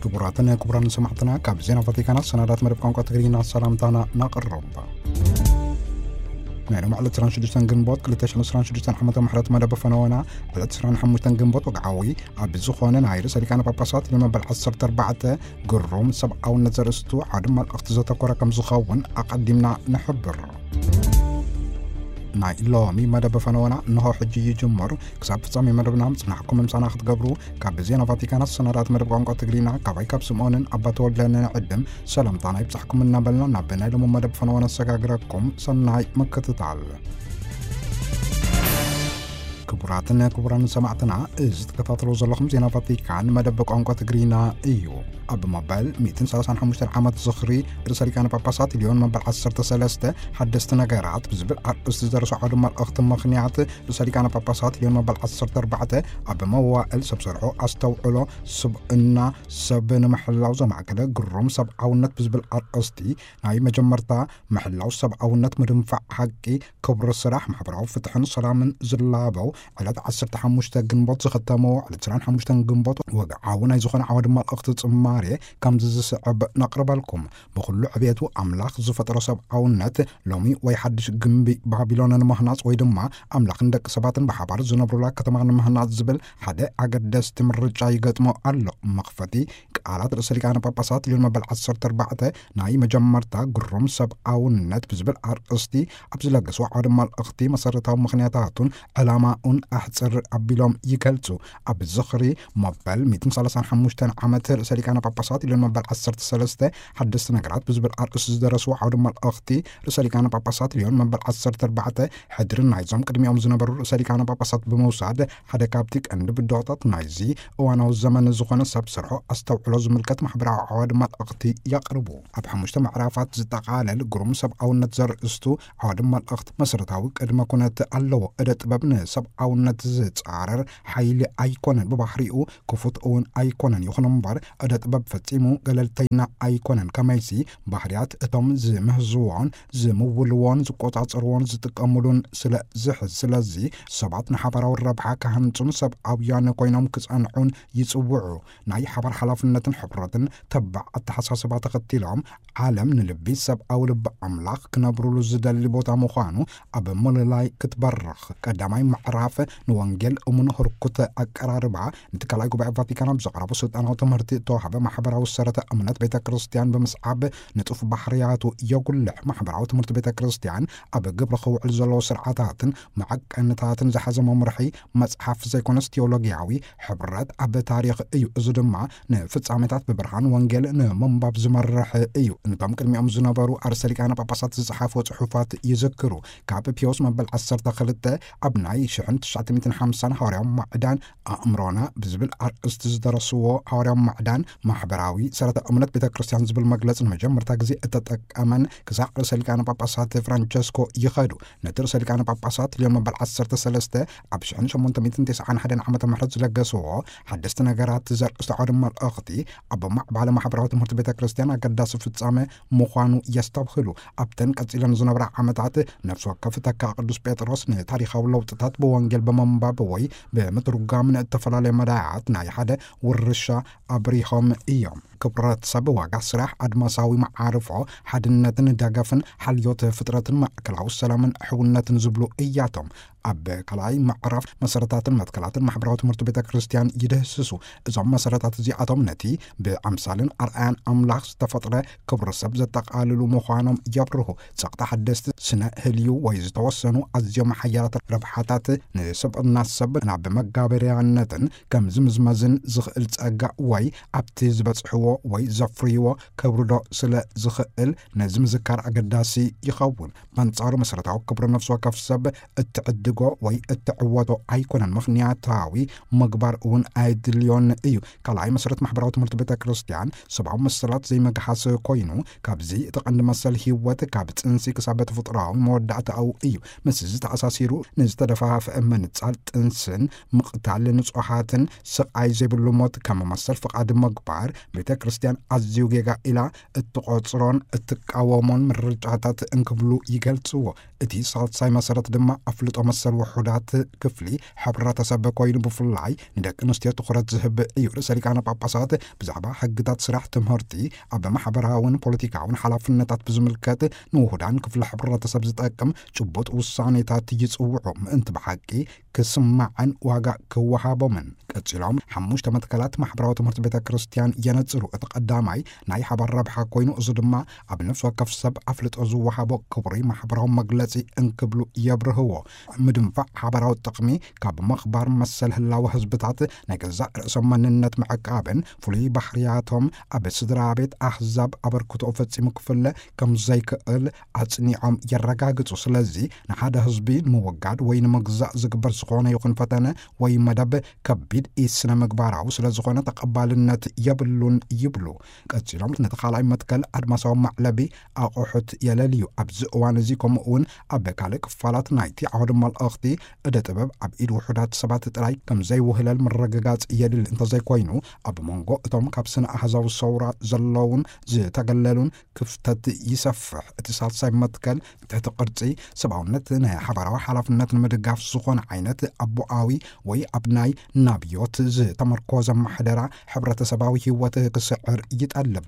ክቡራትን ክቡራን ሰማዕትና፣ ካብ ዜና ቫቲካን ሰናዳት መደብ ቋንቋ ትግርኛ ሰላምታና ናቕርብ። ናይ ሎም ዕለት ዕስራን ሽዱሽተን ግንቦት ክልተ ሽሕን ዕስራን ሽዱሽተን ዓመተ ምሕረት መደብ ፈነወና ዕለት ዕስራን ሓሙሽተን ግንቦት ወግዓዊ ኣብ ዝኾነ ናይ ርእሰ ሊቃነ ጳጳሳት ልዮን መበል ዓሰርተ ኣርባዕተ ግሩም ሰብኣውነት ዘርእስቱ ዓውዲ መልእኽቲ ዘተኮረ ከም ዝኸውን ኣቐዲምና ንሕብር። ናይ ሎሚ መደብ ፈነወና እንሆ ሕጂ ይጅምር። ክሳብ ፍጻሜ መደብና ምጽናሕኩም ምሳና ክትገብሩ ካብ ዜና ቫቲካን ሰናዳት መደብ ቋንቋ ትግርኛ ካባይ ካብ ስምኦንን ኣባ ተወልደን ንዕድም ሰላምታና ይብጻሕኩም እናበልና ናብ ናይ ሎሚ መደብ ፈነወና ነሰጋግረኩም። ሰናይ ምክትታል። ክቡራትን ክቡራን ሰማዕትና፣ እዚ ትከታተሉ ዘለኹም ዜና ቫቲካን መደብ ቋንቋ ትግርኛ እዩ። ኣብ መበል ሚእትን ሰላሳን ሓሙሽተን ዓመት ዝኽሪ ርእሰ ሊቃነ ጳጳሳት ልዮን መበል ዓሰርተ ሰለስተ ሓደስቲ ነገራት ብዝብል ኣርእስቲ ዝደረሱ ዓውዲ መልእኽቲ ምኽንያት ርእሰ ሊቃነ ጳጳሳት ልዮን መበል ዓሰርተ ኣርባዕተ ኣብ መዋእል ሰብ ሰርሖ ኣስተውዕሎ ስብእና ሰብ ንምሕላው ዘማእከለ ግሩም ሰብኣውነት ብዝብል ኣርእስቲ ናይ መጀመርታ ምሕላው ሰብኣውነት፣ ምድንፋዕ ሓቂ፣ ክብሪ ስራሕ፣ ማሕበራዊ ፍትሕን ሰላምን ዝላበው ዕለት ዓሰርተ ሓሙሽተ ግንቦት ዝኽተመዎ ዕለት ዕስራን ሓሙሽተን ግንቦት ወግዓዊ ናይ ዝኾነ ዓውዲ መልእኽቲ ጽማሬ ከምዚ ዝስዕብ ነቕርበልኩም። ብኹሉ ዕቤቱ ኣምላኽ ዝፈጠሮ ሰብኣውነት ሎሚ ወይ ሓድሽ ግንቢ ባቢሎን ንምህናጽ ወይ ድማ ኣምላኽን ደቂ ሰባትን ብሓባር ዝነብሩላ ከተማ ንምህናጽ ዝብል ሓደ ኣገደስቲ ምርጫ ይገጥሞ ኣሎ። መኽፈቲ ቃላት ርእሰ ሊቃነ ጳጳሳት ልዮን መበል ዓሰርተ ኣርባዕተ ናይ መጀመርታ ግሩም ሰብኣውነት ብዝብል ኣርእስቲ ኣብ ዝለገስዎ ዓውዲ መልእኽቲ መሰረታዊ ምኽንያታቱን ዕላማኡን ኣሕጽር ኣቢሎም ይገልጹ። ኣብ ዝኽሪ መበል ሚእትን ሰላሳን ሓሙሽተን ዓመት ርእሰ ሊቃነ ጳጳሳት ልዮን መበል ዓሰርተ ሰለስተ ሓደስቲ ነገራት ብዝብል ኣርእስቲ ዝደረስዎ ዓውዲ መልእኽቲ ርእሰ ሊቃነ ጳጳሳት ልዮን መበል ዓሰርተ ኣርባዕተ ሕድሪ ናይዞም ቅድሚኦም ዝነበሩ ርእሰ ሊቃነ ጳጳሳት ብምውሳድ ሓደ ካብቲ ቀንዲ ብድሆታት ናይዚ እዋናዊ ዘመን ዝኾነ ሰብ ሰርሖ ኣስተውዕሎ ዝምልከት ማሕበራዊ ዓውዲ መልእኽቲ የቕርቡ። ኣብ ሓሙሽተ ምዕራፋት ዝጠቓለል ግሩም ሰብኣውነት ዘርእስቱ ዓውዲ መልእኽቲ መሰረታዊ ቅድመ ኩነት ኣለዎ። እደ ጥበብ ንሰብኣውነት ዝጻረር ሓይሊ ኣይኮነን፣ ብባህሪኡ ክፉት እውን ኣይኮነን። ይኹን እምበር እደ ጥበብ ፈጺሙ ገለልተይና ኣይኮነን። ከመይሲ ባህርያት እቶም ዝምህዝዎን ዝምውልዎን ዝቆጻጸርዎን ዝጥቀሙሉን ስለ ዝሕዝ፣ ስለዚ ሰባት ንሓባራዊ ረብሓ ክሃንጹን ሰብኣውያን ኮይኖም ክጸንዑን ይጽውዑ። ናይ ሓባር ሓላፍነትን ሕብረትን ተባዕ ኣተሓሳስባ ተኸቲሎም ዓለም ንልቢ ሰብኣዊ ልቢ ኣምላኽ ክነብሩሉ ዝደሊ ቦታ ምዃኑ ኣብ ምልላይ ክትበርኽ። ቀዳማይ ምዕራፍ ንወንጌል እሙን ህርኩት ኣቀራርባ፣ ነቲ ካልኣይ ጉባኤ ቫቲካን ኣብ ዘቕረቦ ስልጣናዊ ትምህርቲ እተዋህበ ማሕበራዊ ሰረተ እምነት ቤተ ክርስቲያን ብምስዓብ ንጡፍ ባህርያቱ የጉልሕ። ማሕበራዊ ትምህርቲ ቤተ ክርስቲያን ኣብ ግብሪ ክውዕል ዘለዎ ስርዓታትን መዐቀንታትን ዝሓዘ መምርሒ መጽሓፍ ዘይኮነስ ቴዎሎጊያዊ ሕብረት ኣብ ታሪኽ እዩ። እዚ ድማ ንፍጻሜታት ብብርሃን ወንጌል ንምንባብ ዝመርሕ እዩ። ነቶም ቅድሚኦም ዝነበሩ ኣርእስተ ሊቃነ ጳጳሳት ዝጸሓፍዎ ጽሑፋት ይዝክሩ። ካብ ፒዮስ መበል ዓሰርተ ክልተ ኣብ ናይ ሽሕን ትሽዓተ ሚእትን ሓምሳን ሃዋርያዊ ማዕዳን ኣእምሮና ብዝብል ኣርእስቲ ዝደረስዎ ሃዋርያዊ ማዕዳን ማሕበራዊ ሰረተ እምነት ቤተ ክርስቲያን ዝብል መግለጺ ንመጀመርታ ግዜ እተጠቀመን ክሳዕ ርእሰ ሊቃነ ጳጳሳት ፍራንቸስኮ ይኸዱ። ነቲ ርእሰ ሊቃነ ጳጳሳት ልዮን መበል ዓሰርተ ሰለስተ ኣብ ሽሕን ሸሞንተ ሚእትን ተስዓን ሓደን ዓመተ ምህረት ዝለገስዎ ሓደስቲ ነገራት ዘርእስቲ ዓውደ መልእኽቲ ኣብ ማዕባለ ማሕበራዊ ትምህርቲ ቤተ ክርስቲያን ኣገዳሲ ፍጻመ ምዃኑ የስተብህሉ። ኣብተን ቀጺለን ዝነበራ ዓመታት ነፍሲ ወከፍ ተካ ቅዱስ ጴጥሮስ ንታሪኻዊ ለውጥታት ብወንጌል ብምንባብ ወይ ብምትርጓም ንእተፈላለየ መዳያት ናይ ሓደ ውርሻ ኣብሪሆም እዮም። ክብረት ሰብ፣ ዋጋ ስራሕ፣ ኣድማሳዊ መዓርፎ፣ ሓድነትን ደገፍን፣ ሓልዮት ፍጥረትን ማእከላዊ ሰላምን ሕውነትን ዝብሉ እያቶም። ኣብ ካልኣይ ምዕራፍ መሰረታትን መትከላትን ማሕበራዊ ትምህርቲ ቤተ ክርስቲያን ይድህስሱ። እዞም መሰረታት እዚኣቶም ነቲ ብኣምሳልን ኣርኣያን ኣምላኽ ዝተፈጥረ ክብሪ ሰብ ዘጠቓልሉ ምዃኖም የብርሁ። ጸቕጢ ሓደስቲ ስነ ህልዩ ወይ ዝተወሰኑ ኣዝዮም ሓያላት ረብሓታት ንስብእና ሰብ ናብ መጋበርያነትን ከም ዝምዝመዝን ዝኽእል ጸጋ ወይ ኣብቲ ዝበጽሕዎ ወይ ዘፍርይዎ ከብርዶ ስለ ዝኽእል ነዚ ምዝካር ኣገዳሲ ይኸውን። በንጻሩ መሰረታዊ ክብሪ ነፍሲ ወከፍ ሰብ እትዕድጎ ወይ እትዕወቶ ኣይኮነን። ምኽንያታዊ ምግባር እውን ኣየድልዮን እዩ። ካልኣይ መሰረት ማሕበራዊ ትምህርቲ ቤተ ክርስቲያን ሰብኣዊ መሰላት ዘይምግሃስ ኮይኑ፣ ካብዚ እቲ ቀንዲ መሰል ህይወት ካብ ጽንሲ ክሳብ ተፈጥሮኣዊ መወዳእታኡ እዩ። ምስ እዚ ተኣሳሲሩ ንዝተደፋፍአ ምንጻል ጥንስን ምቕታል ንጹሃትን ስቓይ ዘይብሉ ሞት ከም መሰል ፍቓድ ምግባር ቤተ ክርስቲያን ኣዝዩ ጌጋ ኢላ እትቖጽሮን እትቃወሞን ምርጫታት እንክብሉ ይገልጽዎ። እቲ ሳልሳይ መሰረት ድማ ኣፍልጦ መሰል ውሑዳት ክፍሊ ሕብረተሰብ ኮይኑ፣ ብፍላይ ንደቂ ኣንስትዮ ትኹረት ዝህብ እዩ። ርእሰ ሊቃነ ጳጳሳት ብዛዕባ ሕግታት ስራሕ፣ ትምህርቲ፣ ኣብ ማሕበራውን ፖለቲካውን ሓላፍነታት ብዝምልከት ንውሁዳን ክፍሊ ሕብረተሰብ ዝጠቅም ጭቡጥ ውሳኔታት ይጽውዑ፣ ምእንቲ ብሓቂ ክስማዐን ዋጋ ክወሃቦምን። ቀጺሎም ሓሙሽተ መትከላት ማሕበራዊ ትምህርቲ ቤተ ክርስቲያን የነጽሩ። እቲ ቀዳማይ ናይ ሓባር ረብሓ ኮይኑ፣ እዚ ድማ ኣብ ነፍሲ ወከፍ ሰብ ኣፍልጦ ዝወሃቦ ክቡሪ ማሕበራዊ መግለጺ እንክብሉ የብርህዎ። ምድንፋዕ ሓባራዊ ጥቕሚ ካብ ምኽባር፣ መሰል ህላወ ህዝብታት፣ ናይ ገዛእ ርእሶም መንነት ምዕቃብን ፍሉይ ባህርያቶም ኣብ ስድራ ቤት ኣህዛብ ኣበርክቶ ፈጺሙ ክፍለ ከም ዘይክእል ኣጽኒዖም የረጋግጹ። ስለዚ ንሓደ ህዝቢ ንምውጋድ ወይ ንምግዛእ ዝግበር ዝኾነ ይኹን ፈተነ ወይ መደብ ከቢድ ኢስነ ምግባራዊ ስለ ዝኾነ ተቐባልነት የብሉን ይብሉ። ቀጺሎም ነቲ ካልኣይ መትከል ኣድማሳዊ መዕለቢ ኣቑሑት የለልዩ። ኣብዚ እዋን እዚ ከምኡ እውን ኣብ ካልእ ክፋላት ናይቲ ዓውዲ መልእኽቲ እደ ጥበብ ኣብ ኢድ ውሑዳት ሰባት ጥራይ ከም ዘይውህለል ምርግጋጽ የድሊ። እንተዘይኮይኑ ኣብ መንጎ እቶም ካብ ስነ ኣህዛዊ ሰውራ ዘለውን ዝተገለሉን ክፍተት ይሰፍሕ። እቲ ሳልሳይ መትከል ትሕቲ ቅርጺ ሰብኣውነት ናይ ሓባራዊ ሓላፍነት ንምድጋፍ ዝኾነ ዓይነት ኣቦኣዊ ወይ ኣብ ናይ ናብዮት ዝተመርኮዘ ማሕደራ ሕብረተሰባዊ ህይወት ክስዕር ይጠልብ።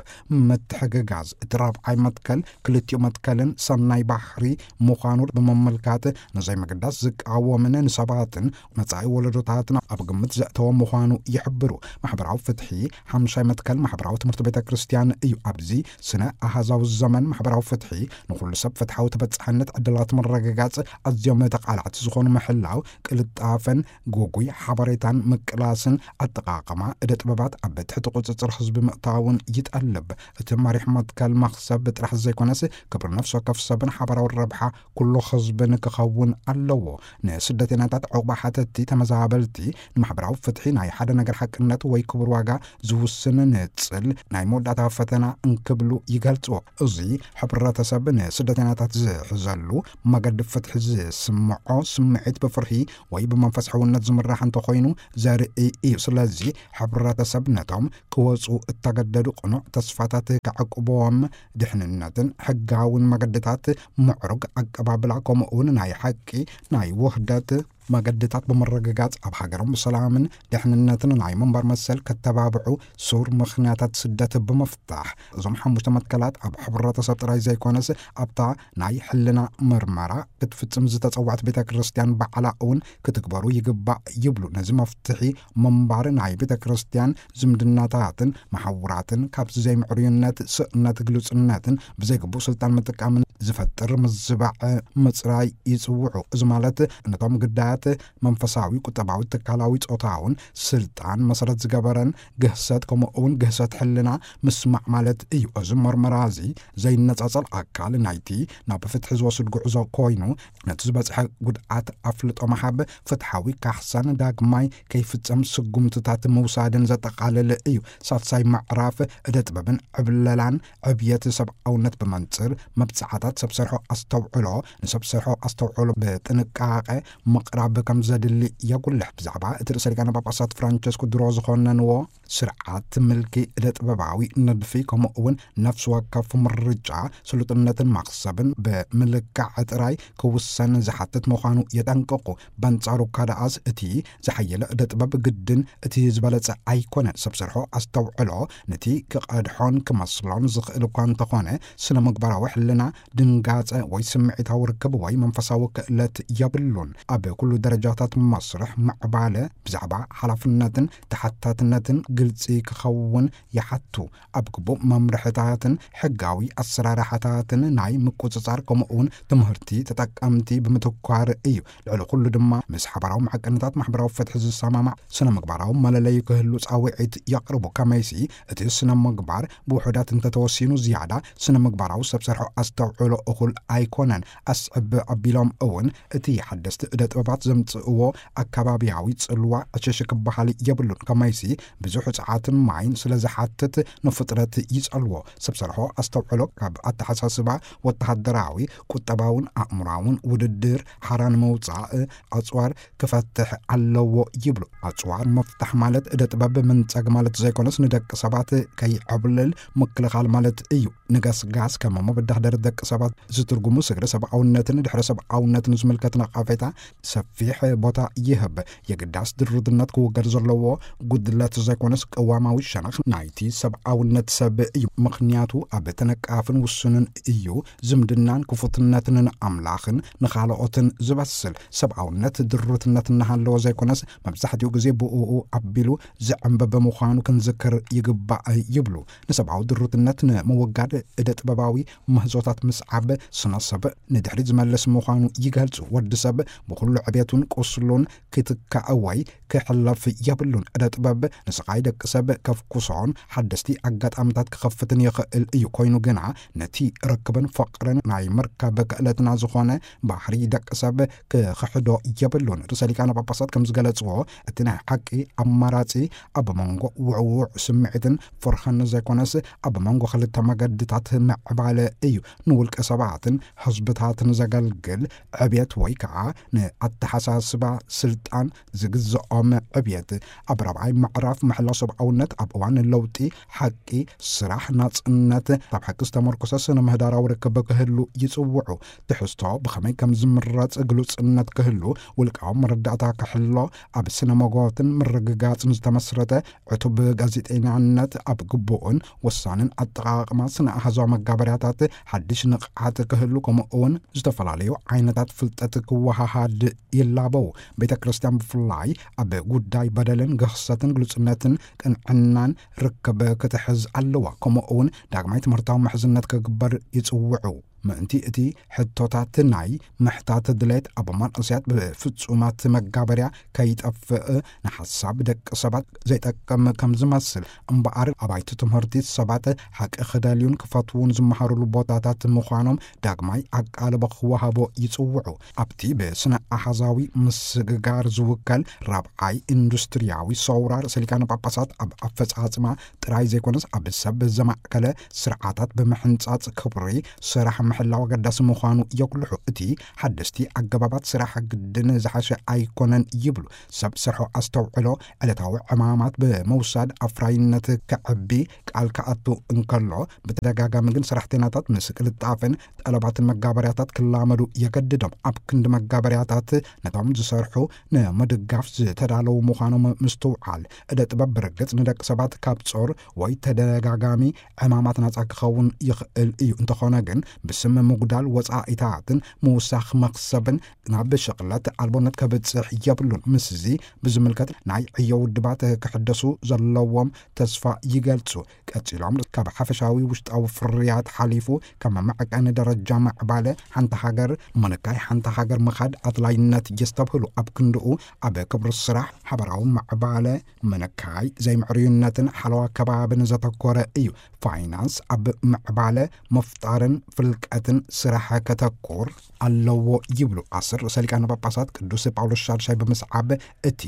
ምትሕግጋዝ እቲ ራብዓይ መትከል ክልቲኡ መትከልን ሰናይ ባህሪ ምዃኑ ብምምልካት፣ ንዘይምግዳስ ዝቃወምን ንሰባትን መጻኢ ወለዶታትን ኣብ ግምት ዘእተወ ምዃኑ ይሕብሩ። ማሕበራዊ ፍትሒ ሓምሻይ መትከል ማሕበራዊ ትምህርቲ ቤተ ክርስቲያን እዩ። ኣብዚ ስነ ኣሃዛዊ ዘመን ማሕበራዊ ፍትሒ ንኹሉ ሰብ ፍትሓዊ ተበጻሕነት ዕድላት ምርግጋጽ ኣዝዮም ተቓላዕቲ ዝኾኑ ምሕላው፣ ቅልጣፈን ግጉይ ሓበሬታን ምቅላስን ኣጠቓቕማ እደ ጥበባት ኣብ ትሕቲ ቁጽጽር ህዝቢ ምእታውን ይጠልብ። እቲ መሪሕ መትከል መኽሰብ ጥራሕ ዘይኮነስ ክብሪ ነፍሲ ወከፍ ሰብን ሓባራዊ ረብሓ ኩሉ ህዝብን ክኸውን ኣለዎ። ንስደተኛታት፣ ዕቑባ ሓተቲ፣ ተመዛበልቲ፣ ንማሕበራዊ ፍትሒ ናይ ሓደ ነገር ሓቅነት ወይ ክቡር ዋጋ ዝውስን ንጽል ናይ መወዳእታ ፈተና እንክብሉ ይገልጽዎ። እዚ ሕብረተሰብ ንስደተኛታት ዝሕዘሉ መገዲ ፍትሒ ዝስምዖ ስምዒት ብፍርሂ ወይ ብመንፈስ ሕውነት ዝምራሕ እንተኾይኑ ዘርኢ እዩ። ስለዚ ሕብረተሰብ ነቶም ክወጹ እተገደዱ ቅኑዕ ተስፋታት ከዕቅብዎም ድሕንነትን ሕጋውን መገድታት፣ ምዕሩግ ኣቀባብላ፣ ከምኡ እውን ናይ ሓቂ ናይ ውህደት መገድታት ብምርግጋጽ፣ ኣብ ሃገሮም ብሰላምን ድሕንነትን ናይ ምንባር መሰል ከተባብዑ ሱር ምኽንያታት ስደት ብምፍታሕ፣ እዞም ሓሙሽተ መትከላት ኣብ ሕብረተሰብ ጥራይ ዘይኮነስ ኣብታ ናይ ሕልና ምርመራ ክትፍጽም ዝተጸዋዕት ቤተ ክርስቲያን ባዕላ እውን ክትግበሩ ይግባእ ይብሉ። ነዚ መፍትሒ ምንባር ናይ ቤተ ክርስቲያን ዝምድናታትን መሓውራትን ካብዚ ዘይምዕሩይነት፣ ስእነት፣ ግሉጽነትን ብዘይግቡእ ስልጣን ምጥቃምን ዝፈጥር ምዝባዕ ምጽራይ ይጽውዑ። እዚ ማለት ነቶም ግዳያት መንፈሳዊ፣ ቁጠባዊ፣ ትካላዊ፣ ጾታውን ስልጣን መሰረት ዝገበረን ግህሰት፣ ከምኡ እውን ግህሰት ሕልና ምስማዕ ማለት እዩ። እዚ መርመራ እዚ ዘይነጻጸል ኣካል ናይቲ ናብ ፍትሒ ዝወስድ ጉዕዞ ኮይኑ፣ ነቲ ዝበጽሐ ጉድኣት ኣፍልጦ ምሃብ፣ ፍትሓዊ ካሕሳን ዳግማይ ከይፍጸም ስጉምትታት ምውሳድን ዘጠቓልል እዩ። ሳልሳይ ምዕራፍ እደ ጥበብን ዕብለላን ዕብየት ሰብኣውነት ብመንጽር መብጽዓታት ሰብ ሰርሖ ኣስተውዕሎ፣ ንሰብ ሰርሖ ኣስተውዕሎ ብጥንቃቐ ምቕራብ ከም ዘድሊ የጉልሕ። ብዛዕባ እቲ ርእሰ ሊቃነ ጳጳሳት ፍራንቸስኮ ድሮ ዝኾነንዎ ስርዓት ምልኪ እደ ጥበባዊ ንድፊ፣ ከምኡ እውን ነፍሲ ወከፍ ምርጫ ስሉጥነትን መኽሰብን ብምልካዕ ጥራይ ክውሰን ዝሓትት ምዃኑ የጠንቅቑ። በንጻሩ እኳ ደኣስ፣ እቲ ዝሓየለ እደ ጥበብ ግድን እቲ ዝበለጸ ኣይኮነን። ሰብ ሰርሖ ኣስተውዕሎ ነቲ ክቐድሖን ክመስሎን ዝኽእል እኳ እንተኾነ፣ ስነ ምግባራዊ ሕልና ድንጋጸ ወይ ስምዒታዊ ርክብ ወይ መንፈሳዊ ክእለት የብሉን። ኣብ ኩሉ ደረጃታት መስርሕ ምዕባለ ብዛዕባ ሓላፍነትን ተሓታትነትን ግልጺ ክኸውን ይሓቱ። ኣብ ግቡእ መምርሕታትን ሕጋዊ ኣሰራርሓታትን ናይ ምቁጽጻር፣ ከምኡ እውን ትምህርቲ ተጠቀምቲ ብምትኳር እዩ። ልዕሊ ኩሉ ድማ ምስ ሓባራዊ መዐቀንታት ማሕበራዊ ፍትሒ ዝሰማማዕ ስነ ምግባራዊ መለለዩ ክህሉ ጻውዒት የቕርቡ። ከመይሲ እቲ ስነ ምግባር ብውሑዳት እንተተወሲኑ ዝያዳ ስነ ምግባራዊ ሰብ ሰርሖ ኣስተውዕሎ እኹል ኣይኮነን። ኣስዕብ ኣቢሎም እውን እቲ ሓደስቲ እደ ጥበባት ዘምጽእዎ ኣካባቢያዊ ጽልዋ ዕሽሽ ክበሃል የብሉን። ከመይሲ ብዙሕ ጸዓትን ማይን ስለ ዝሓትት ንፍጥረት ይጸልዎ። ሰብ ሰርሖ ኣስተውዕሎ ካብ ኣተሓሳስባ ወተሃደራዊ፣ ቁጠባውን ኣእምራውን ውድድር ሓራ ንምውጻእ ኣጽዋር ክፈትሕ ኣለዎ ይብሉ። ኣጽዋር ምፍታሕ ማለት እደ ጥበብ ምንጻግ ማለት ዘይኮነስ፣ ንደቂ ሰባት ከይዕብልል ምክልኻል ማለት እዩ። ንገስጋስ ከም መበዳህደሪ ደቂ ሰብ ነጥባት ዝትርጉሙ ስግረ ሰብኣውነትን ድሕረ ሰብኣውነትን ዝምልከት ነቐፌታ ሰፊሕ ቦታ ይህብ። የግዳስ ድሩትነት ክውገድ ዘለዎ ጉድለት ዘይኮነስ ቅዋማዊ ሸነኽ ናይቲ ሰብኣውነት ሰብ እዩ። ምኽንያቱ ኣብ ተነቃፍን ውሱንን እዩ። ዝምድናን ክፉትነትን ንኣምላኽን ንኻልኦትን ዝበስል። ሰብኣውነት ድሩትነት እናሃለዎ ዘይኮነስ መብዛሕትኡ ግዜ ብእኡ ኣቢሉ ዝዕንበበ ምዃኑ ክንዝክር ይግባእ ይብሉ። ንሰብኣዊ ድሩትነት ንምውጋድ እደ ጥበባዊ ምህዞታት ምስዓብ ስነ ሰብ ንድሕሪት ዝመልስ ምዃኑ ይገልጹ። ወዲ ሰብ ብኹሉ ዕቤቱን ቁስሉን ክትካእ ወይ ክሕለፍ የብሉን። እደ ጥበብ ንስቓይ ደቂ ሰብ ከፍኩሶን ሓደስቲ ኣጋጣምታት ክኸፍትን ይኽእል እዩ። ኮይኑ ግና ነቲ ርክብን ፍቕርን ናይ ምርካብ ክእለትና ዝኾነ ባህሪ ደቂ ሰብ ክኽሕዶ የብሉን። ርእሰ ሊቃነ ጳጳሳት ከም ዝገለጽዎ፣ እቲ ናይ ሓቂ ኣማራጺ ኣብ መንጎ ውዕዉዕ ስምዒትን ፍርህን ዘይኮነስ ኣብ መንጎ ክልተ መገድታት ምዕባለ እዩ። ንውልቀ ሰባትን ህዝብታትን ዘገልግል ዕብየት ወይ ከዓ ንኣተሓሳስባ ስልጣን ዝግዝኦም ዕብየት። ኣብ ራብዓይ ምዕራፍ ምሕላው ሰብኣውነት ኣብ እዋን ለውጢ ሓቂ፣ ስራሕ፣ ናጽነት፣ ኣብ ሓቂ ዝተመርኮሰ ስነ ምህዳራዊ ርክብ ክህሉ ይጽውዑ። ትሕዝቶ ብኸመይ ከም ዝምረጽ ግሉጽነት ክህሉ፣ ውልቃዊ መረዳእታ ክሕሎ፣ ኣብ ስነ መጎትን ምርግጋጽን ዝተመስረተ ዕቱብ ጋዜጠኛነት ኣብ ግቡእን ወሳንን ኣጠቓቕማ ስነ ኣሃዛዊ መጋበርያታት ሓድሽ ንቕሓት ክህሉ፣ ከምኡ እውን ዝተፈላለዩ ዓይነታት ፍልጠት ክወሃሃድ ይላበው። ቤተ ክርስቲያን ብፍላይ ኣብ ጉዳይ በደልን ግህሰትን ግሉጽነትን ቅንዕናን ርክብ ክትሕዝ ኣለዋ። ከምኡ እውን ዳግማይ ትምህርታዊ ምሕዝነት ክግበር ይጽውዑ። ምእንቲ እቲ ሕቶታት ናይ ምሕታት ድሌት ኣብ መንእሰያት ብፍጹማት መጋበርያ ከይጠፍእ ንሓሳብ ደቂ ሰባት ዘይጠቅም ከም ዝመስል እምበኣር ኣባይቲ ትምህርቲ ሰባት ሓቂ ክደልዩን ክፈትዉን ዝመሃሩሉ ቦታታት ምዃኖም ዳግማይ ኣቃልቦ ክወሃቦ ይጽውዑ። ኣብቲ ብስነ ኣሃዛዊ ምስግጋር ዝውከል ራብዓይ ኢንዱስትሪያዊ ሰውራ ርእሰ ሊቃነ ጳጳሳት ኣብ ኣፈጻጽማ ጥራይ ዘይኮነስ ኣብ ሰብ ዘማእከለ ስርዓታት ብምሕንጻጽ ክብሪ ስራሕ ምሕላው ኣገዳሲ ምዃኑ የጉልሑ። እቲ ሓደስቲ ኣገባባት ስራሕ ግድን ዝሓሸ ኣይኮነን ይብሉ። ሰብ ስርሑ ኣስተውዕሎ ዕለታዊ ዕማማት ብምውሳድ ኣፍራይነት ከዕቢ ቃል ክኣቱ እንከሎ፣ ብተደጋጋሚ ግን ሰራሕተኛታት ምስ ቅልጣፈን ጠለባትን መጋበርያታት ክላመዱ የገድዶም። ኣብ ክንዲ መጋበርያታት ነቶም ዝሰርሑ ንምድጋፍ ዝተዳለዉ ምዃኖም ምስትውዓል። እደ ጥበብ ብርግጽ ንደቂ ሰባት ካብ ጾር ወይ ተደጋጋሚ ዕማማት ናጻ ክኸውን ይኽእል እዩ። እንተኾነ ግን ብስም ምጉዳል ወጻኢታትን ምውሳኽ መኽሰብን ናብ ሽቕለት ኣልቦነት ከብጽሕ የብሉን። ምስዚ ብዝምልከት ናይ ዕዮ ውድባት ክሕደሱ ዘለዎም ተስፋ ይገልጹ። ቀጺሎም ካብ ሓፈሻዊ ውሽጣዊ ፍርያት ሓሊፉ ከም መዐቀኒ ደረጃ ምዕባለ ሓንቲ ሃገር፣ ምንካይ ሓንቲ ሃገር ምኻድ ኣድላይነት የስተብህሉ። ኣብ ክንድኡ ኣብ ክብሪ ስራሕ፣ ሓበራዊ ምዕባለ፣ ምንካይ ዘይምዕርዩነትን ሓለዋ ከባብን ዘተኮረ እዩ። ፋይናንስ ኣብ ምዕባለ፣ ምፍጣርን ፍልቀትን ስራሕ ከተኩር ኣለዎ ይብሉ ኣስር ርእሰ ሊቃነ ጳጳሳት ቅዱስ ጳውሎስ ሻድሻይ ብምስዓብ፣ እቲ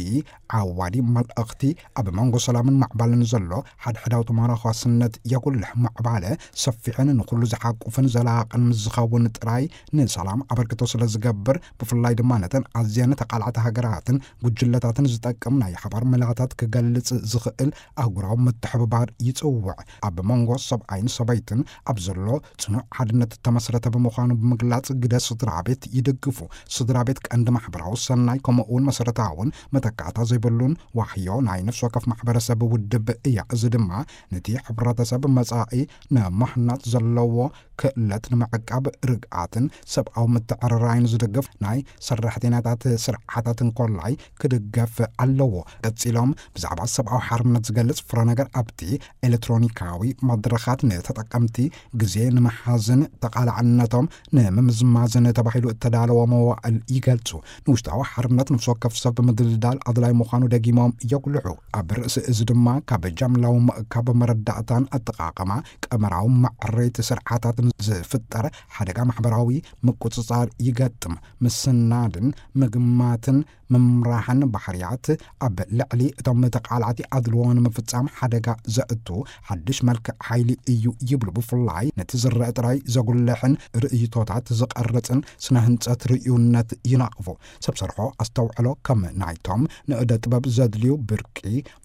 ዓዋዲ መልእኽቲ ኣብ መንጎ ሰላምን ማዕባልን ዘሎ ሓድሕዳዊ ተመራኳስነት የጉልሕ። ማዕባለ ሰፊሕን ንኹሉ ዝሓቁፍን ዘላቕን ምስ ዝኸውን ጥራይ ንሰላም ኣበርክቶ ስለ ዝገብር፣ ብፍላይ ድማ ነተን ኣዝየን ተቓላዕቲ ሃገራትን ጉጅለታትን ዝጠቅም ናይ ሓባር መላታት ክገልጽ ዝኽእል ኣህጉራዊ ምትሕብባር ይጽውዕ። ኣብ መንጎ ሰብኣይን ሰበይትን ኣብ ዘሎ ጽኑዕ ሓድነት እተመስረተ ብምዃኑ ብምግላጽ፣ ግደ ስድራ ቤት ይድግፉ። ስድራ ቤት ቀንዲ ማሕበራዊ ሰናይ ከምኡ እውን መሰረታውን መተካእታ ዘይብሉን ዋህዮ ናይ ነፍሲ ወከፍ ማሕበረሰብ ውድብ እያ። እዚ ድማ ነቲ ሕብረተሰብ መጻኢ ንምሕናጽ ዘለዎ ክእለት ንምዕቃብ ርግኣትን ሰብኣዊ ምትዕርራይን ዝድግፍ ናይ ሰራሕተኛታት ስርዓታት እንኮላይ ክድገፍ ኣለዎ። ቀጺሎም ብዛዕባ ሰብኣዊ ሓርነት ዝገልጽ ፍረ ነገር ኣብቲ ኤሌክትሮኒካዊ መድረኻት ንተጠቀምቲ ግዜ ንምሓዝን ተቓላዕነቶም ንምምዝማዝን ተባሂሉ እተዳለወ መዋእል ይገልጹ። ንውሽጣዊ ሓርነት ነፍሲ ወከፍ ሰብ ምድልዳል ኣድላይ ምዃኑ ደጊሞም የጉልሑ። ኣብ ርእሲ እዚ ድማ ካብ ጃምላዊ ምእካብ መረዳእታን ኣጠቓቕማ ቀመራዊ ማዕረይቲ ስርዓታትን ዝፍጠር ሓደጋ ማሕበራዊ ምቁጽጻር ይገጥም። ምስናድን ምግማትን ምምራሕን ባህርያት ኣብ ልዕሊ እቶም ተቓላዕቲ ኣድልዎ ንምፍጻም ሓደጋ ዘእቱ ሓድሽ መልክዕ ሓይሊ እዩ ይብሉ። ብፍላይ ነቲ ዝረአ ጥራይ ዘጉልሕን ርእይቶታት ዝቐርጽን ስነ ህንጸት ርእዩነት ይነቕፉ። ሰብ ሰርሖ ኣስተውዕሎ ከም ናይቶም ንእደ ጥበብ ዘድልዩ ብርቂ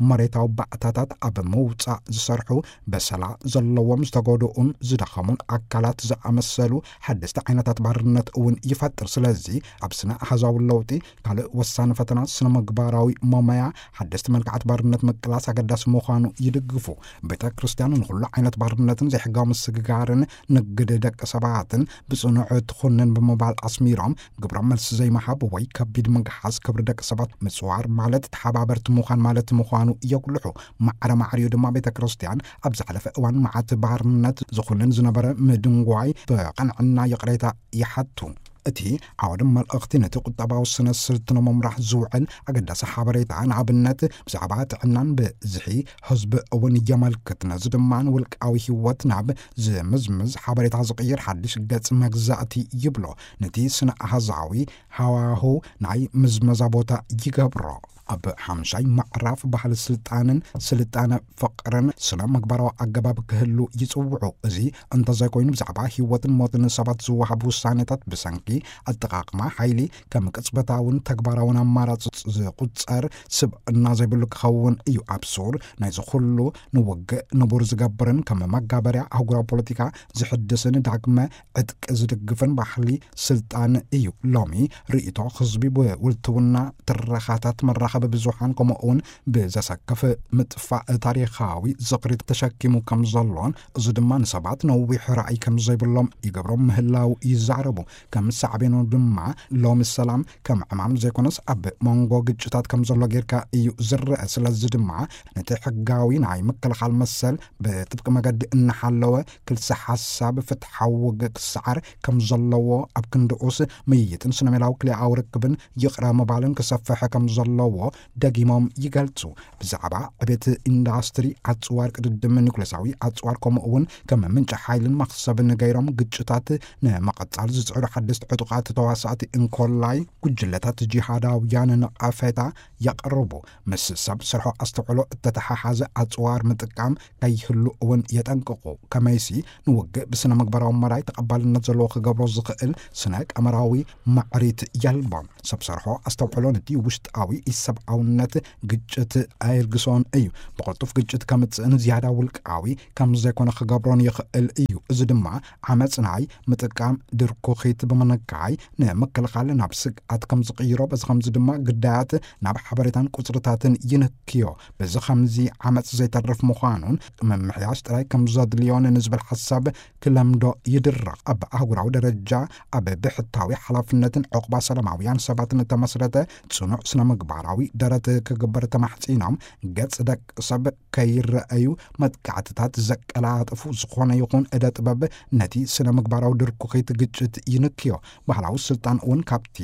መሬታዊ ባእታታት ኣብ ምውጻእ ዝሰርሑ በሰላ ዘለዎም ዝተጎድኡን ዝደኸሙን ኣካላት ዝኣመሰሉ ሓደስቲ ዓይነታት ባርነት እውን ይፈጥር። ስለዚ ኣብ ስነ ኣሃዛዊ ለውጢ ካልእ ወሳኒ ፈተና ስነ ምግባራዊ መመያ ሓደስቲ መልክዓት ባርነት ምቅላስ ኣገዳሲ ምዃኑ ይድግፉ። ቤተ ክርስቲያን ንኹሉ ዓይነት ባርነትን ዘይሕጋዊ ምስግጋርን ንግድ ደቂ ሰባትን ብጽኑዕ ትኹንን ብምባል ኣስሚሮም፣ ግብረ መልሲ ዘይምሃብ ወይ ከቢድ ምግሓስ ክብሪ ደቂ ሰባት ምጽዋር ማለት ተሓባበርቲ ምዃን ማለት ምዃኑ የጉልሑ። ማዕረ ማዕሪኡ ድማ ቤተ ክርስቲያን ኣብ ዝሓለፈ እዋን መዓት ባርነት ዝኹንን ዝነበረ ምድንጓይ ብቐንዕና ይቕሬታ ይሓቱ። እቲ ዓውዲ መልእኽቲ ነቲ ቁጠባዊ ስነ ስልቲ ንምምራሕ ዝውዕል ኣገዳሲ ሓበሬታ፣ ንኣብነት ብዛዕባ ጥዕናን ብዝሒ ህዝቢ እውን የመልክት። ነዚ ድማ ንውልቃዊ ህይወት ናብ ዝምዝምዝ ሓበሬታ ዝቕይር ሓድሽ ገጽ መግዛእቲ ይብሎ። ነቲ ስነ ኣሃዛዊ ሃዋሁ ናይ ምዝመዛ ቦታ ይገብሮ። ኣብ ሓምሻይ ምዕራፍ ባህሊ ስልጣንን ስልጣነ ፍቕርን ስነ ምግባራዊ ኣገባብ ክህሉ ይጽውዑ። እዚ እንተዘይኮይኑ ብዛዕባ ህይወትን ሞትን ሰባት ዝወሃብ ውሳኔታት ብሰንኪ ኣጠቓቕማ ሓይሊ ከም ቅጽበታውን ተግባራውን ኣማራጺ ዝቁጸር ስብእና ዘይብሉ ክኸውን እዩ። ኣብ ሱር ናይዚ ኩሉ ንውግእ ንቡር ዝገብርን ከም መጋበርያ ኣህጉራዊ ፖለቲካ ዝሕድስን ዳግመ ዕጥቂ ዝድግፍን ባህሊ ስልጣን እዩ። ሎሚ ርእይቶ ህዝቢ ብውልትውና ትረኻታት መራኸቢ ብዙሓን ከምኡ እውን ብዘሰክፍ ምጥፋእ ታሪኻዊ ዝኽሪ ተሸኪሙ ከም ዘሎን እዚ ድማ ንሰባት ነዊሕ ራእይ ከም ዘይብሎም ይገብሮም ምህላው ይዛረቡ። ከም ሳዕቤኑ ድማ ሎሚ ሰላም ከም ዕማም ዘይኮነስ ኣብ መንጎ ግጭታት ከም ዘሎ ጌርካ እዩ ዝረአ። ስለዚ ድማ ነቲ ሕጋዊ ናይ ምክልኻል መሰል ብጥብቂ መገዲ እናሓለወ ክልሰ ሓሳብ ፍትሓዊ ውግእ ክሰዓር ከም ዘለዎ ኣብ ክንድኡስ ምይይጥን ስነሜላዊ ክልኣዊ ርክብን ይቕረ ምባልን ክሰፍሕ ከም ዘለዎ ደጊሞም ይገልጹ። ብዛዕባ ዕቤት ኢንዳስትሪ ኣጽዋር ቅድድም ኒኩሌሳዊ ኣጽዋር ከምኡ እውን ከም ምንጪ ሓይልን መኽሰብን ገይሮም ግጭታት ንምቕጻል ዝጽዕሩ ሓደስቲ ዕጡቓት ተዋሳእቲ እንኮላይ ጉጅለታት ጂሃዳውያን ነቐፌታ የቕርቡ። ምስ ሰብ ስርሖ ኣስተውዕሎ እተተሓሓዘ ኣጽዋር ምጥቃም ከይህሉ እውን የጠንቅቑ። ከመይሲ ንውግእ ብስነ ምግባራዊ መራይ ተቐባልነት ዘለዎ ክገብሮ ዝኽእል ስነ ቀመራዊ ማዕሪት የልቦን። ሰብ ሰርሖ ኣስተውዕሎ ነቲ ውሽጣዊ ኢሰብኣውነት ግጭት ኣየልግሶን እዩ። ብቕልጡፍ ግጭት ከምጽእን ዝያዳ ውልቃዊ ከም ዘይኮነ ክገብሮን ይኽእል እዩ። እዚ ድማ ዓመጽ ናይ ምጥቃም ድርኩኺት ብምንካይ ንምክልኻል ናብ ስግኣት ከም ዝቕይሮ፣ በዚ ከምዚ ድማ ግዳያት ናብ ሓበሬታን ቁጽርታትን ይንክዮ። በዚ ከምዚ ዓመጽ ዘይተርፍ ምዃኑን ምምሕያሽ ጥራይ ከም ዘድልዮን ንዝብል ሓሳብ ክለምዶ ይድረኽ። ኣብ ኣህጉራዊ ደረጃ ኣብ ብሕታዊ ሓላፍነትን ዕቑባ ሰላማውያን ሰባትን እተመስረተ ጽኑዕ ስነ ምግባራዊ ደረት ክግበር ተማሕጺኖም፣ ገጽ ደቂ ሰብ ከይረኣዩ መጥቃዕትታት ዘቀላጥፉ ዝኾነ ይኹን እደ ጥበብ ነቲ ስነ ምግባራዊ ድርኩኺት ግጭት ይንክዮ። ባህላዊ ስልጣን እውን ካብቲ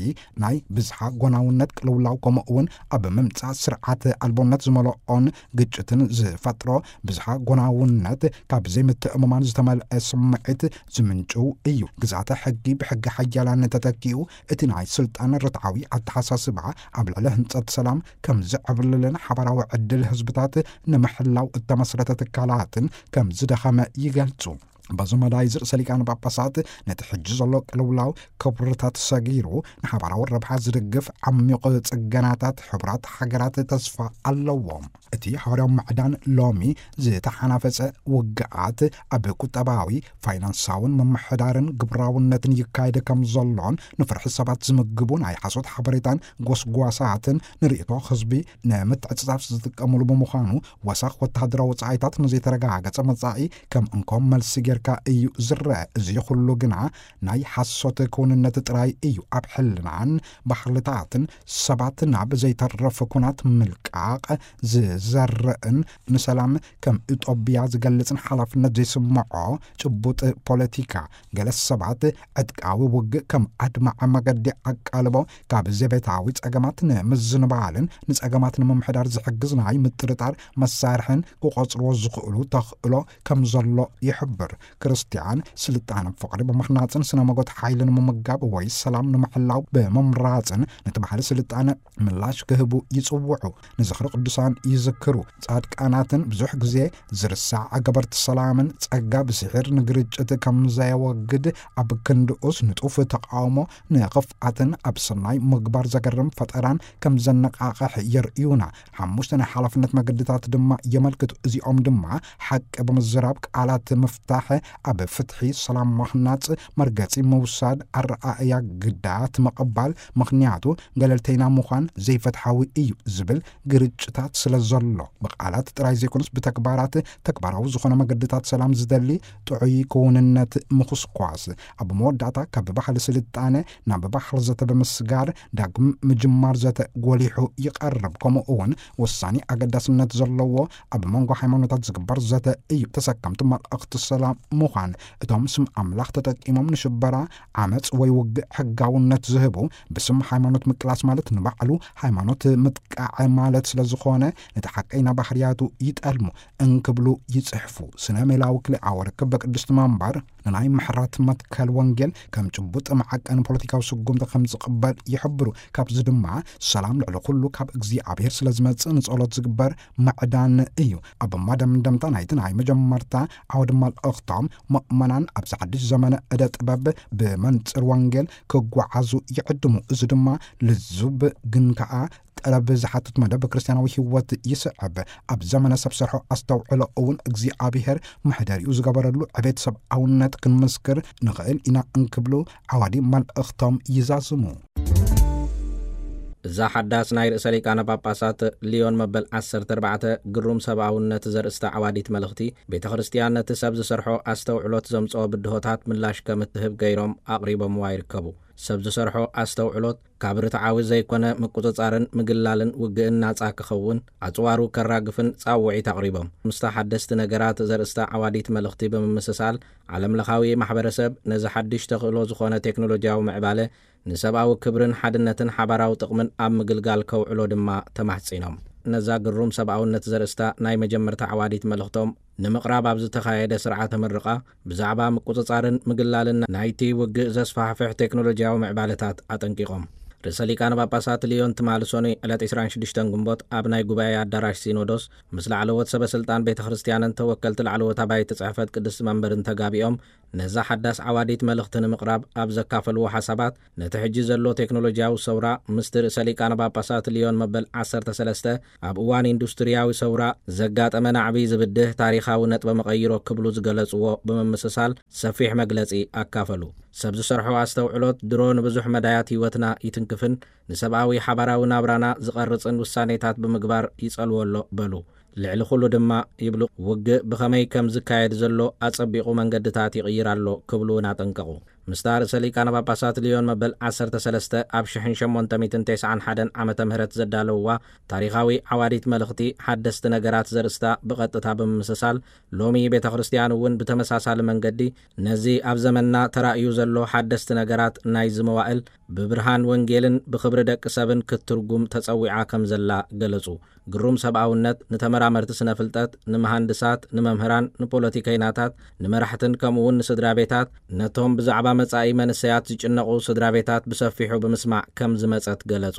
ናይ ብዝሓ ጎናውነት ቅልውላው ከምኡ እውን ኣብ ምምጻእ ስርዓት ኣልቦነት ዝመልኦን ግጭትን ዝፈጥሮ ብዝሓ ጎናውነት ካብ ዘይምትእምማን ዝተመልአ ስምዒት ዝምንጭው እዩ። ግዝኣተ ሕጊ ብሕጊ ሓያላን ተተኪኡ እቲ ናይ ስልጣን ርትዓዊ ኣተሓሳስባ ኣብ ልዕሊ ህንጸት ሰላም ከም ዝዕብልልን ሓባራዊ ዕድል ህዝብታት ንምሕላው እተመስረተ ትካላትን ከም ዝደኸመ ይገልጹ። በዚ መዳይ ርእሰ ሊቃነ ጳጳሳት ነቲ ሕጂ ዘሎ ቅልውላው ክብርታት ሰጊሩ ንሓባራዊ ረብሓ ዝድግፍ ዓሚቕ ጽገናታት ሕቡራት ሃገራት ተስፋ ኣለዎም። እቲ ሓዋርያዊ ምዕዳን ሎሚ ዝተሓናፈጸ ውግኣት ኣብ ቁጠባዊ፣ ፋይናንሳውን ምምሕዳርን ግብራውነትን ይካየድ ከም ዘሎን ንፍርሒ ሰባት ዝምግቡ ናይ ሓሶት ሓበሬታን ጎስጓሳትን ንርእይቶ ህዝቢ ንምትዕጽጻፍ ዝጥቀሙሉ ብምዃኑ ወሰኽ ወተሃደራዊ ወጻኢታት ንዘይተረጋገጸ መጻኢ ከም እንኮ መልሲ ጌርካ እዩ ዝረአ። እዚ ኩሉ ግና ናይ ሓሶት ክውንነት ጥራይ እዩ። ኣብ ሕልናን ባህልታትን ሰባት ናብ ዘይተርፍ ኩናት ምልቃቕ ዝዘርእን ንሰላም ከም እጦብያ ዝገልጽን ሓላፍነት ዘይስምዖ ጭቡጥ ፖለቲካ። ገለ ሰባት ዕጥቃዊ ውግእ ከም ኣድማዒ መገዲ ኣቃልቦ ካብ ዘቤታዊ ጸገማት ንምዝንባልን ንጸገማት ንምምሕዳር ዝሕግዝ ናይ ምጥርጣር መሳርሕን ክቖጽርዎ ዝኽእሉ ተኽእሎ ከም ዘሎ ይሕብር። ክርስትያን ስልጣነ ፍቕሪ ብምህናፅን ስነ መጎት ሓይሊ ንምምጋብ ወይ ሰላም ንምሕላው ብምምራፅን ነቲ ባህሊ ስልጣነ ምላሽ ክህቡ ይፅውዑ። ንዝኽሪ ቅዱሳን ይዝክሩ። ጻድቃናትን ብዙሕ ግዜ ዝርሳዕ ገበርቲ ሰላምን ጸጋ ብስሒር ንግርጭት ከም ዘየወግድ ኣብ ክንድኡስ ንጡፍ ተቃውሞ ንኽፍኣትን ኣብ ሰናይ ምግባር ዘገርም ፈጠራን ከም ዘነቃቕሕ የርእዩና። ሓሙሽተ ናይ ሓላፍነት መገድታት ድማ የመልክቱ። እዚኦም ድማ ሓቂ ብምዝራብ ቃላት ምፍታሕ፣ ኣብ ፍትሒ ሰላም ማህናጽ፣ መርገጺ ምውሳድ፣ ኣረኣእያ ግዳት ምቕባል፣ ምኽንያቱ ገለልተይና ምዃን ዘይፈትሓዊ እዩ ዝብል ግርጭታት ስለ ዘሎ፣ ብቃላት ጥራይ ዘይኮነስ ብተግባራት ተግባራዊ ዝኾነ መገድታት ሰላም ዝደሊ ጥዑይ ክውንነት ምኹስኳስ። ኣብ መወዳእታ ካብ ባህሊ ስልጣነ ናብ ባህሊ ዘተ ብምስጋር ዳግም ምጅማር ዘተ ጎሊሑ ይቐርብ። ከምኡ እውን ወሳኒ ኣገዳስነት ዘለዎ ኣብ መንጎ ሃይማኖታት ዝግበር ዘተ እዩ። ተሰከምቲ መልእኽቲ ሰላም ምዃን። እቶም ስም ኣምላኽ ተጠቂሞም ንሽበራ፣ ዓመፅ ወይ ውግእ ሕጋውነት ዝህቡ፣ ብስም ሃይማኖት ምቅላስ ማለት ንባዕሉ ሃይማኖት ምጥቃዕ ማለት ስለ ዝኾነ፣ ነቲ ሓቀይና ባህርያቱ ይጠልሙ፣ እንክብሉ ይጽሕፉ። ስነ ሜላዊ ክልኣዊ ርክብ በቅድስቲ መንበር ንናይ ምሕረት መትከል ወንጌል ከም ጭቡጥ መዓቀኒ ፖለቲካዊ ስጉምቲ ከም ዝቕበል ይሕብሩ። ካብዚ ድማ ሰላም ልዕሊ ኩሉ ካብ እግዚኣብሔር ስለ ዝመጽእ ንጸሎት ዝግበር ምዕዳን እዩ። ኣብ መደምደምታ ናይቲ ናይ መጀመርታ ዓውዲ መልእኽቶም፣ ምእመናን ኣብዚ ሓድሽ ዘመነ ዕደ ጥበብ ብመንጽር ወንጌል ክጓዓዙ ይዕድሙ። እዚ ድማ ልዙብ ግን ከኣ ጠለብ ዝሓትት መደብ ክርስትያናዊ ህይወት ይስዕብ። ኣብ ዘመነ ሰብ ሰርሖ ኣስተውዕሎ እውን እግዚኣብሔር መሕደሪኡ ዝገበረሉ ዕቤት ሰብኣውነት ክንምስክር ንኽእል ኢና እንክብሉ ዓዋዲ መልእኽቶም ይዛዝሙ። እዛ ሓዳስ ናይ ርእሰ ሊቃነ ጳጳሳት ሊዮን መበል ዓሰርተ ኣርባዕተ ግሩም ሰብኣውነት ዘርእስታ ዓዋዲት መልእኽቲ፣ ቤተ ክርስቲያን ነቲ ሰብ ዝሰርሖ ኣስተውዕሎት ዘምጽኦ ብድሆታት ምላሽ ከም እትህብ ገይሮም ኣቕሪቦምዋ ይርከቡ። ሰብ ዝሰርሖ ኣስተውዕሎት ካብ ርትዓዊ ዘይኮነ ምቁጽጻርን ምግላልን ውግእን ናጻ ክኸውን፣ ኣጽዋሩ ከራግፍን ጻውዒት ኣቕሪቦም። ምስታ ሓደስቲ ነገራት ዘርእስታ ዓዋዲት መልእኽቲ ብምምስሳል፣ ዓለምለኻዊ ማሕበረሰብ ነዚ ሓድሽ ተኽእሎ ዝኾነ ቴክኖሎጂያዊ ምዕባለ ንሰብኣዊ ክብርን ሓድነትን ሓባራዊ ጥቕምን ኣብ ምግልጋል ከውዕሎ ድማ ተማሕጺኖም። ነዛ ግሩም ሰብኣውነት ዘርእስታ ናይ መጀመርታ ዓዋዲት መልእኽቶም ንምቕራብ ኣብ ዝተኻየደ ስርዓተ ምርቓ፣ ብዛዕባ ምቁጽጻርን ምግላልን ናይቲ ውግእ ዘስፋሕፍሕ ቴክኖሎጂያዊ ምዕባለታት ኣጠንቂቖም። ርእሰ ሊቃነ ጳጳሳት ሊዮን ትማሊ ሰኑይ ዕለት ዕስራን ሽዱሽተን ግንቦት ኣብ ናይ ጉባኤ ኣዳራሽ ሲኖዶስ ምስ ላዕለዎት ሰበ ስልጣን ቤተ ክርስቲያንን ተወከልቲ ላዕለዎት ኣባይቲ ጽሕፈት ቅድስቲ መንበርን ተጋቢኦም ነዛ ሓዳስ ዓዋዲት መልእኽቲ ንምቕራብ ኣብ ዘካፈልዎ ሓሳባት፣ ነቲ ሕጂ ዘሎ ቴክኖሎጂያዊ ሰውራ ምስቲ ርእሰ ሊቃነ ጳጳሳት ሊዮን መበል ዓሰርተ ሰለስተ ኣብ እዋን ኢንዱስትርያዊ ሰውራ ዘጋጠመ ናዕቢ ዝብድህ ታሪኻዊ ነጥበ መቐይሮ ክብሉ ዝገለጽዎ ብምምስሳል ሰፊሕ መግለጺ ኣካፈሉ። ሰብ ዝሰርሖ ኣስተውዕሎት ድሮ ንብዙሕ መዳያት ህይወትና ይትንክፍን ንሰብኣዊ ሓባራዊ ናብራና ዝቐርጽን ውሳኔታት ብምግባር ይጸልዎ ኣሎ በሉ። ልዕሊ ኩሉ ድማ ይብሉ፣ ውግእ ብኸመይ ከም ዝካየድ ዘሎ ኣጸቢቑ መንገድታት ይቕይር ኣሎ ክብሉ እውን ኣጠንቀቑ። ምስታ ርእሰ ሊቃነ ጳጳሳት ሊዮን መበል ዓሰርተ ሰለስተ ኣብ ሽሕን ሸሞንተ ሚእትን ተስዓን ሓደን ዓመተ ምህረት ዘዳለውዋ ታሪኻዊ ዓዋዲት መልእኽቲ ሓደስቲ ነገራት ዘርእስታ ብቐጥታ ብምምስሳል፣ ሎሚ ቤተ ክርስቲያን እውን ብተመሳሳሊ መንገዲ ነዚ ኣብ ዘመንና ተራእዩ ዘሎ ሓደስቲ ነገራት ናይዚ መዋእል ብብርሃን ወንጌልን ብኽብሪ ደቂ ሰብን ክትትርጉም ተጸዊዓ ከም ዘላ ገለጹ። ግሩም ሰብኣውነት ንተመራመርቲ ስነ ፍልጠት፣ ንመሃንድሳት፣ ንመምህራን፣ ንፖለቲከይናታት፣ ንመራሕትን ከምኡ እውን ንስድራ ቤታት፣ ነቶም ብዛዕባ መጻኢ መንሰያት ዝጭነቑ ስድራ ቤታት ብሰፊሑ ብምስማዕ ከም ዝመጸት ገለጹ።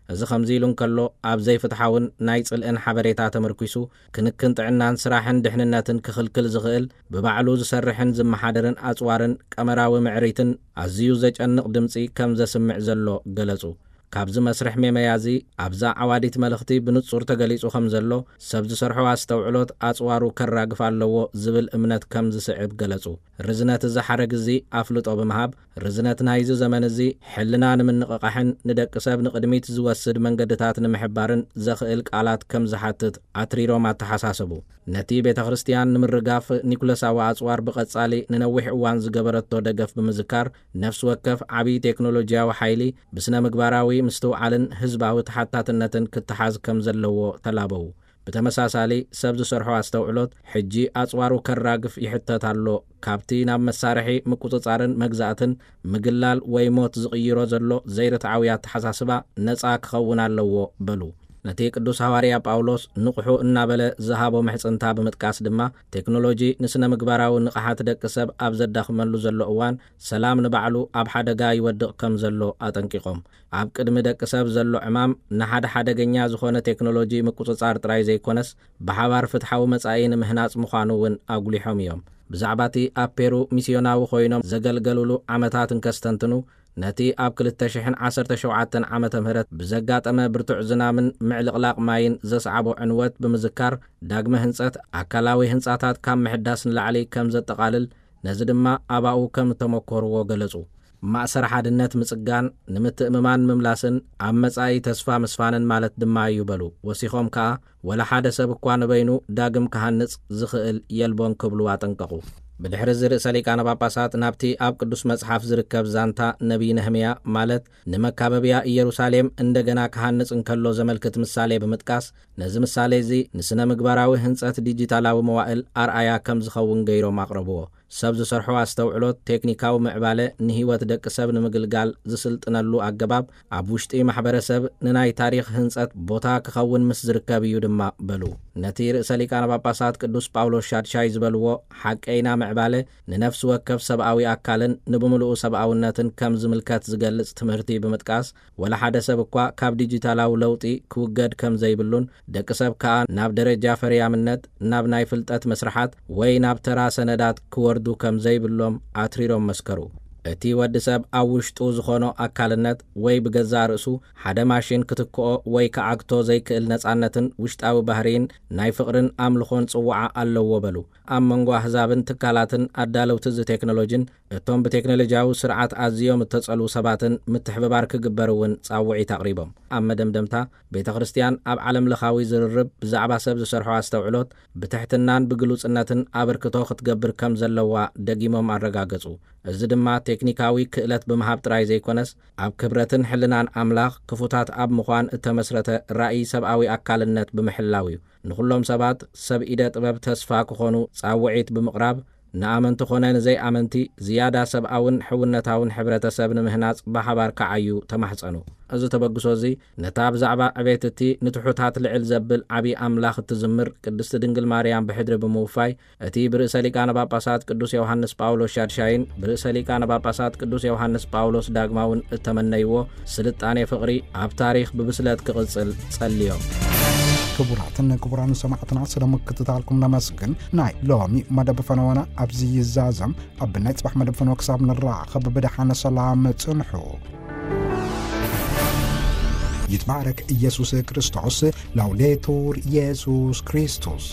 እዚ ከምዚ ኢሉ እንከሎ፣ ኣብ ዘይፍትሓውን ናይ ጽልእን ሓበሬታ ተመርኲሱ ክንክን ጥዕናን ስራሕን ድሕንነትን ክኽልክል ዝኽእል፣ ብባዕሉ ዝሰርሕን ዝመሓደርን ኣጽዋርን ቀመራዊ ምዕሪትን ኣዝዩ ዘጨንቕ ድምጺ ከም ዘስምዕ ዘሎ ገለጹ። ካብዚ መስርሕ ሜመያ እዚ ኣብዛ ዓዋዲት መልእኽቲ ብንጹር ተገሊጹ ከም ዘሎ፣ ሰብ ዝሰርሖ ኣስተውዕሎት ኣጽዋሩ ከራግፍ ኣለዎ ዝብል እምነት ከም ዝስዕብ ገለጹ። ርዝነት እዚ ሓረግ እዚ ኣፍልጦ ብምሃብ፣ ርዝነት ናይዚ ዘመን እዚ ሕልና ንምንቕቓሕን ንደቂ ሰብ ንቕድሚት ዝወስድ መንገድታት ንምሕባርን ዘኽእል ቃላት ከም ዝሓትት ኣትሪሮም ኣተሓሳሰቡ። ነቲ ቤተ ክርስቲያን ንምርጋፍ ኒኩለሳዊ ኣጽዋር ብቐጻሊ ንነዊሕ እዋን ዝገበረቶ ደገፍ ብምዝካር፣ ነፍሲ ወከፍ ዓቢ ቴክኖሎጂያዊ ሓይሊ ብስነ ምግባራዊ ምስትውዓልን ህዝባዊ ተሓታትነትን ክተሓዝ ከም ዘለዎ ተላበዉ። ብተመሳሳሊ፣ ሰብ ዝሰርሖ ኣስተውዕሎት ሕጂ ኣጽዋሩ ከራግፍ ይሕተት ኣሎ። ካብቲ ናብ መሳርሒ ምቁጽጻርን መግዛእትን፣ ምግላል ወይ ሞት ዝቕይሮ ዘሎ ዘይርትዓዊ ኣተሓሳስባ ነጻ ክኸውን ኣለዎ በሉ። ነቲ ቅዱስ ሃዋርያ ጳውሎስ ንቕሑ እናበለ ዝሃቦ ምሕጽንታ ብምጥቃስ ድማ፣ ቴክኖሎጂ ንስነ ምግባራዊ ንቕሓት ደቂ ሰብ ኣብ ዘዳኽመሉ ዘሎ እዋን፣ ሰላም ንባዕሉ ኣብ ሓደጋ ይወድቕ ከም ዘሎ ኣጠንቂቖም። ኣብ ቅድሚ ደቂ ሰብ ዘሎ ዕማም ንሓደ ሓደገኛ ዝኾነ ቴክኖሎጂ ምቁጽጻር ጥራይ ዘይኮነስ፣ ብሓባር ፍትሓዊ መጻኢ ንምህናጽ ምዃኑ እውን ኣጉሊሖም እዮም። ብዛዕባ እቲ ኣብ ፔሩ ሚስዮናዊ ኮይኖም ዘገልገሉሉ ዓመታት እንከስተንትኑ፣ ነቲ ኣብ ክልተ ሽሕን ዓሰርተ ሸውዓተን ዓመተ ምህረት ብዘጋጠመ ብርቱዕ ዝናምን ምዕልቕላቕ ማይን ዘስዓቦ ዕንወት ብምዝካር፣ ዳግመ ህንጸት ኣካላዊ ህንጻታት ካብ ምሕዳስ ንላዕሊ ከም ዘጠቓልል፣ ነዚ ድማ ኣባኡ ከም እተመኮርዎ ገለጹ። ማእሰር ሓድነት ምጽጋን፣ ንምትእምማን ምምላስን ኣብ መጻኢ ተስፋ ምስፋንን ማለት ድማ እዩ በሉ። ወሲኾም ከኣ፣ ወላ ሓደ ሰብ እኳ ንበይኑ ዳግም ክሃንጽ ዝኽእል የልቦን ክብሉ ኣጠንቀቑ። ብድሕሪ እዚ ርእሰ ሊቃነ ጳጳሳት ናብቲ ኣብ ቅዱስ መጽሓፍ ዝርከብ ዛንታ ነቢይ ነህምያ፣ ማለት ንመካበብያ ኢየሩሳሌም እንደገና ክሃንጽ እንከሎ ዘመልክት ምሳሌ ብምጥቃስ፣ ነዚ ምሳሌ እዚ ንስነ ምግባራዊ ህንጸት ዲጂታላዊ መዋእል ኣርኣያ ከም ዝኸውን ገይሮም ኣቕረብዎ። ሰብ ዝሰርሖ ኣስተውዕሎት፣ ቴክኒካዊ ምዕባለ ንህይወት ደቂ ሰብ ንምግልጋል ዝስልጥነሉ ኣገባብ፣ ኣብ ውሽጢ ማሕበረሰብ ንናይ ታሪኽ ህንጸት ቦታ ክኸውን ምስ ዝርከብ እዩ ድማ በሉ። ነቲ ርእሰ ሊቃነ ጳጳሳት ቅዱስ ጳውሎስ ሻድሻይ ዝበልዎ ሓቀይና ምዕባለ ንነፍሲ ወከፍ ሰብኣዊ ኣካልን ንብምሉኡ ሰብኣውነትን ከም ዝምልከት ዝገልጽ ትምህርቲ ብምጥቃስ፣ ወላ ሓደ ሰብ እኳ ካብ ዲጂታላዊ ለውጢ ክውገድ ከም ዘይብሉን፣ ደቂ ሰብ ከኣ ናብ ደረጃ ፈርያምነት፣ ናብ ናይ ፍልጠት መስርሓት ወይ ናብ ተራ ሰነዳት ክወርዱ ከም ዘይብሎም ኣትሪሮም መስከሩ። እቲ ወዲ ሰብ ኣብ ውሽጡ ዝኾኖ ኣካልነት ወይ ብገዛእ ርእሱ ሓደ ማሽን ክትክኦ ወይ ክዓግቶ ዘይክእል ነጻነትን ውሽጣዊ ባህርይን ናይ ፍቕርን ኣምልኾን ጽውዓ ኣለዎ በሉ። ኣብ መንጎ ኣህዛብን ትካላትን ኣዳለውቲ እዚ ቴክኖሎጂን እቶም ብቴክኖሎጂያዊ ስርዓት ኣዝዮም እተጸልዉ ሰባትን ምትሕብባር ክግበር እውን ጻውዒት ኣቕሪቦም። ኣብ መደምደምታ፣ ቤተ ክርስቲያን ኣብ ዓለም ለኻዊ ዝርርብ ብዛዕባ ሰብ ዝሰርሖ ኣስተውዕሎት ብትሕትናን ብግሉጽነትን ኣበርክቶ ክትገብር ከም ዘለዋ ደጊሞም ኣረጋገጹ። እዚ ድማ ቴክኒካዊ ክእለት ብምሃብ ጥራይ ዘይኮነስ፣ ኣብ ክብረትን ሕልናን ኣምላኽ ክፉታት ኣብ ምዃን እተመስረተ ራእይ ሰብኣዊ ኣካልነት ብምሕላው እዩ። ንኹሎም ሰባት ሰብ ኢደ ጥበብ ተስፋ ክኾኑ ጻውዒት ብምቕራብ፣ ንኣመንቲ ኾነ ንዘይኣመንቲ ዝያዳ ሰብኣውን ሕውነታውን ሕብረተሰብ ንምህናጽ ብሓባር ክዓዩ ተማሕጸኑ። እዚ ተበግሶ እዚ ነታ ብዛዕባ ዕቤት እቲ ንትሑታት ልዕል ዘብል ዓቢ ኣምላኽ እትዝምር ቅድስቲ ድንግል ማርያም ብሕድሪ ብምውፋይ፣ እቲ ብርእሰ ሊቃነ ጳጳሳት ቅዱስ ዮሃንስ ጳውሎስ ሻድሻይን ብርእሰ ሊቃነ ጳጳሳት ቅዱስ ዮሃንስ ጳውሎስ ዳግማውን እተመነይዎ ስልጣኔ ፍቕሪ ኣብ ታሪኽ ብብስለት ክቕጽል ጸልዮም። ክቡራትን ክቡራን ሰማዕትና፣ ስለ ምክትታልኩም ነመስግን። ናይ ሎሚ መደብ ፈነወና ኣብዚ ይዛዘም። ኣብ ናይ ጽባሕ መደብ ፈነወ ክሳብ ንራኸብ ብደሓነ ሰላም ጽንሑ። ይትባረክ ኢየሱስ ክርስቶስ። ላውዴቱር ኢየሱስ ክርስቶስ።